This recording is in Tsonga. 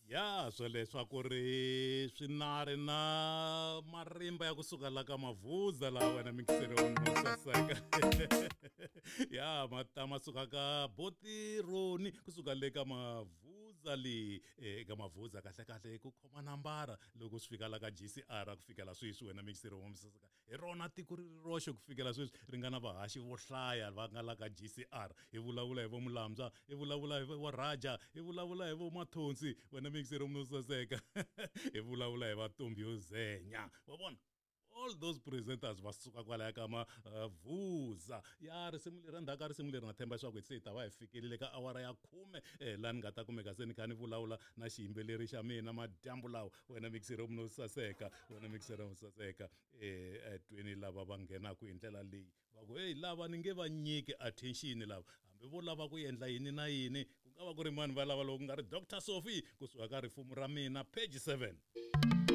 Ya swoleswo ri swinari na marimba ya kusuka la ka Mavuza laha wena mikiseri wa saseka ya ma ta ma suka ka Botironi kusuka le ka Mavuza le eka Mavuza kahle kahle ku khoma nambara loko swi fika la ka GCR ku fikela sweswi wena mikiseri wa saseka. Hi rona tiko ri ri roxe ku fikela sweswi ri nga na vahaxi vo hlaya va nga la ka GCR. Hi vulavula hi vo Mulambya, hi vulavula hi vo Raja, hi vulavula hi vo Mathonsi, wena mixero munhu saseka. Hi vulavula hi va Ntombi yo Zenya. Wa vona? All those presenters va suka kwalaya ka Mavuza. Ya risimu leri endzhaku ka risimu leri na tshemba leswaku se hi ta va hi fikelile ka awara ya 10 laha ni nga ta kumeka se ni kha ni vulavula na xiyimbeleri xa mina madyambu lawa. Wena mixero munhu saseka, wena mixero munhu saseka. Tweni lava va nghenaka hi ndlela leyi va ku hey lava ni nge va nyiki attention lava hambi vo lava ku endla yini na yini ku nga va ku ri mani va lava loko ku nga ri Dr Sophie kusuka ka Rifumo ra Mina page 7.